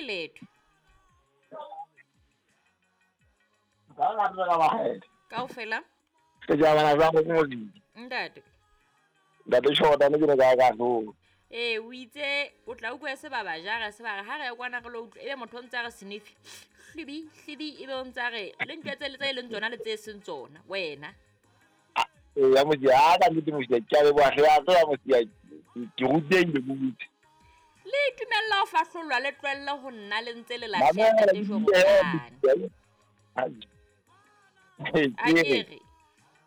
letho. Ka lerato ka makgethe. Kaofela. Setjhabana sa Modimo. Ntate. Ntate Shota ne ke ne ka ka hlolo. Ee, o itse o tla utlwa se ba ba jara se ba re ha re ya kwana re lo utlwa ebe motho o ntse a re sniff. Hlibi, hlibi ebe o ntse a re le ntho tse le tse leng tsona le tse seng tsona wena. Ee, ya mosia, ha ka nnete mosia, ke a leboha hle, a tseba mosia, ke rutehile bobedi. Le itumella ho fahlolwa le tlohelle ho nna le ntse le lahleha ntate Jordan. A ke re.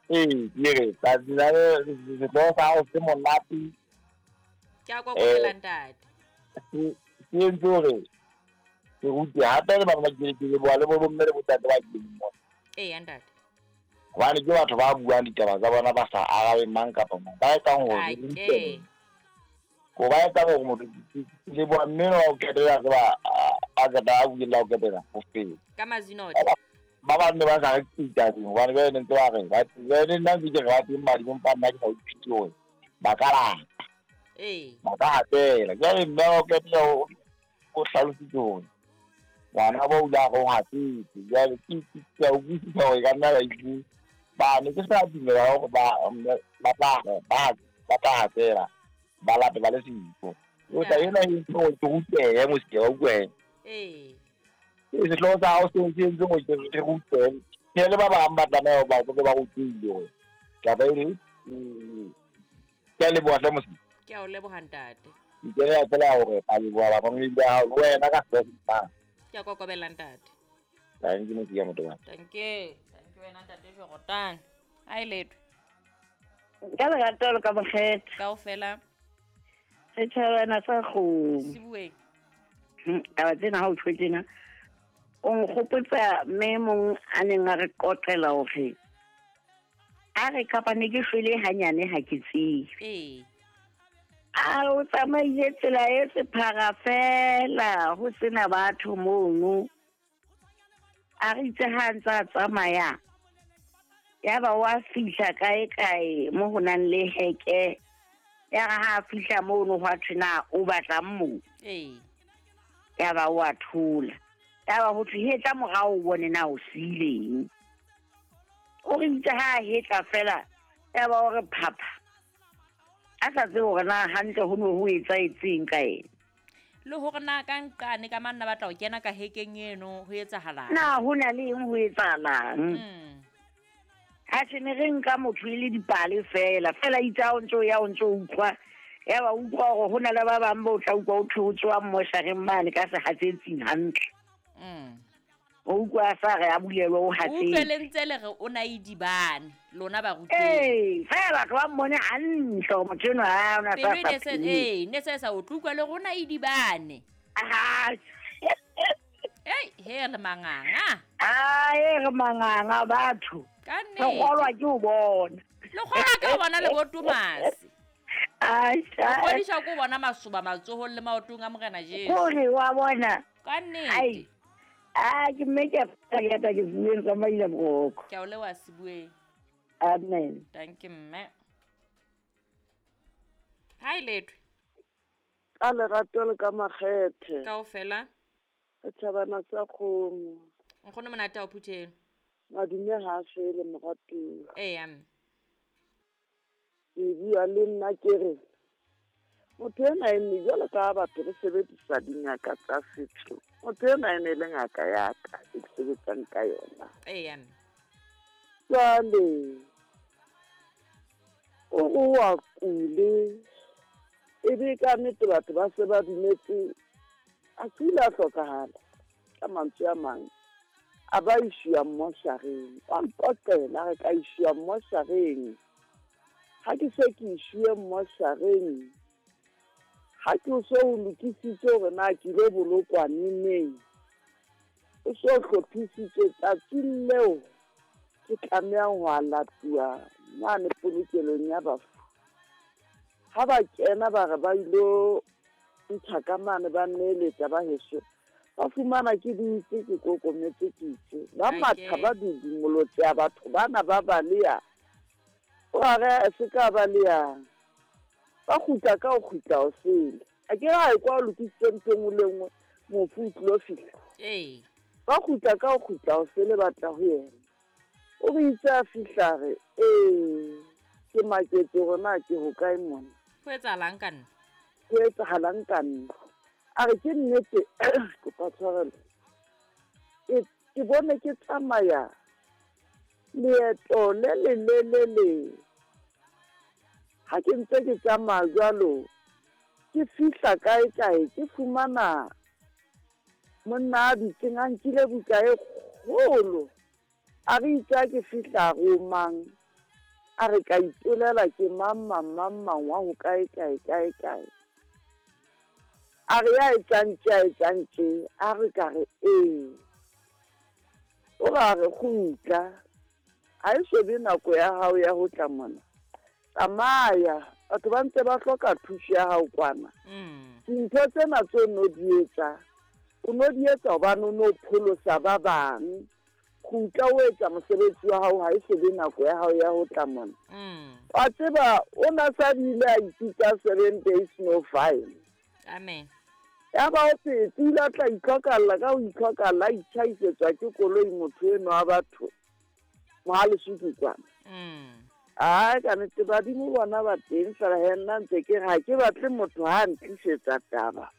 Ee, ke re, tsatsi la sehlooho sa hao se monate. Ke a kokobela ntate. Se entse hore ke rute hape le bana ba ke leboha le bo bomme le botate ba teng mona. Ee, ntate. Hobane ke batho ba buang ditaba tsa bona ba sa arabe mang kapa mang. Ba etsang hore Ake. Ko ba etsang hore motho le bua mme wa o ketela tseba a qeta a buile o ketela ho fela. Ka mazinote. Ba bang ne ba sa re ditabeng hobane ba ne ntse ba re ba ne nna ntse ke re ba teng badimo empa nna ke sa utlwisise hore ba ka lata. Ee. Ba ka hatela. Jwale mme wa o ketela o hlalositse hore ngwana bo o ile a re o hatetse. Jwale ke a utlwisisa hore e ka nna ba ile ba ne ke sa dumela hore ba tla hatela ba lape ba le siko. O tla ena e ntse hore ke rutehe mosike wa utlwe. Ee. Sehlooho sa hao se entse hore ke rutehe. Ke le ba bang ba tlameha ba ba rutile hore taba eno ke a leboha hle mosike. Ke a o leboha ntate. Ke a fela hore a leboha ba bang ba hao le wena ka sehlooho. Ke a kokobela ntate. Thank you mosike motho wa. Thank you. Thank you wena ntate Jordan. Ha e letho. Ka lerato le ka mokgetho. Kaofela. Setjhabana sa kgomo. Sibueng. Taba tsena ha o tjho tjena. O nkgopotsa mme mong a neng a re qoqela hore a re kapa ne ke shwele hanyane ha ke tsebe. Ee. A o tsamaile tsela e sephara fela ho sena batho mono. A re itse ha ntse a tsamaya ya ba wa fihla kae kae mo ho nang le heke. Ya re ha fihla mono hwa thwe na o batlang moo. Ee. Ya ba wa thola. Ya ba ho thwe hetla morao o bone na o siileng. O re itse ha hetla fela ya ba o re phapha. A sa tsebe hore na hantle ho ne ho etsahetseng ka ena. Le hore na ka nqane ka manna batla ho kena ka hekeng eno ho etsahalang. Na ho na le eng ho etsahalang? Ha se ne re nka motho e le dipale fela fela itse ha o ntso ya o ntso utlwa ya ba utlwa hore ho na le ba bang ba o tla utlwa o thwe o tswa mmoshareng mane ka sehatsetsing hantle. O utlwa sa re a bulelwe o hatsetse. Utlwe le ntse le re o na idibane lona ba ruteng. Ee, fela batho ba mmone hantle hore motho enwa ha ona sa sa. Ee, ne se sa o utlwa le rona idibane. Ah. Ei, he re manganga. Ah, e re manganga batho. Ka nnete. Re kgolwa ke ho bona. Le kgolwa ke ho bona le bo Tomasi. Ai, kgodisha ko bona masoba matsohong le maotong a Morena Jesu. Kore wa bona. Ka nnete. Ai. Ah, ke mme ke a ke bueng tsa maila boroko. Ke a o leboha Sibueng. Amen. Thank you mme. Hi letho. Ka lerato le ka makgethe. Kaofela. Setjhabana sa kgomo. Nkgono monate o phutheng. Madume ha a fele moratuwa. Ee, mme. Ke bua le nna ke re motho ena e ne jwalo ka batho re sebedisa dingaka tsa setso. Motho ena e ne le ngaka ya ka e ke sebetsang ka yona. Ee, mme. Jwale o re wa kule ebe ka nnete batho ba se ba dumetse a kile a hlokahala ka mantswe a mang. A ba ishiwa mmoshareng. Wa nqoqela re ka ishiwa mmoshareng. Ha ke se ke ishiwe mmoshareng, ha ke o so o lokisitse hore na ke ile bolokwa neneng, o so hlophisitse tsatsing leo ke tlamehang ho latuwa mane polokelong ya bafu. Ha ba kena ba re ba ilo ntsha ka mane ba nneletsa ba heso. Ba fumana ke dutse ke kokometse ke itse. Ba matha ba dudumolotse ya batho bana ba baleya. O a re se ka baleya. Ba kgutla ka ho kgutla ho sele. A ke ra e kwa o lokisitse ntho e nngwe le nngwe. Mofu o tlilo fihla. Ee. Ba kgutla ka ho kgutla ho se le batla ho yena. O re itse a fihla a re, Ee, ke maketse hore na ke hokae mona. Ho etsahalang ka nna? Ho etsahalang ka nna? A re, Ke nnete, kopa tshwarelo, ke, ke bone ke tsamaya leeto le lelelele. Ha ke ntse ke tsamaya jwalo, ke fihla kae-kae, ke fumana monna a dutseng a nkile buka e kgolo. A re itse ha ke fihla a re o mang? A re ka ipolela ke mang mang mang mang wa ho kae kae kae kae. A re ya etsang tje a etsang tje, a re ka re ee. O re a re kgutla, ha e so be nako ya hao ya ho tla mona. Tsamaya, batho ba ntse ba hloka thuso ya hao kwana. Dintho tsena tse o no di etsa, o no di etsa hobane o no pholosa ba bang. Kgutla o etsa mosebetsi wa hao, ha e so be nako ya hao ya ho tla mona. Wa tseba, o na sa bile a ipitsa 7 days no fine. Amen. Ya ba o phetse, o ile a tla itlhokalla ka ho itlhokalla, a itjhaisetswa ke koloi motho enwa wa batho. Mohalesuku kwana. Ai, ka nnete badimo bona ba teng fela he nna ntse ke re ha ke batle motho ha a ntlisetsa taba.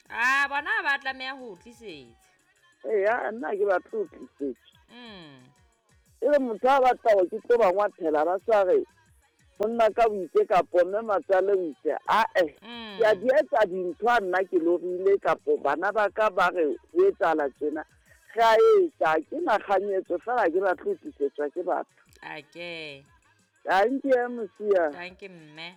A bona ha ba tlameha ho o tlisetsa. Eya, nna ha ke batle ho tlisetswa. E re motho ha batla hore ke tlo ba ngwathela ba sa re monna ka o itse kapo mme matswale o itse, ae, ke a di etsa dintho ha nna ke lorile kapo bana ba ka ba re ho etsahala tjena. Re a etsa, ha ke na kganyetso fela ha ke batle ho tlisetswa ke batho. Ake. Dankie, Mosia. Dankie, mme.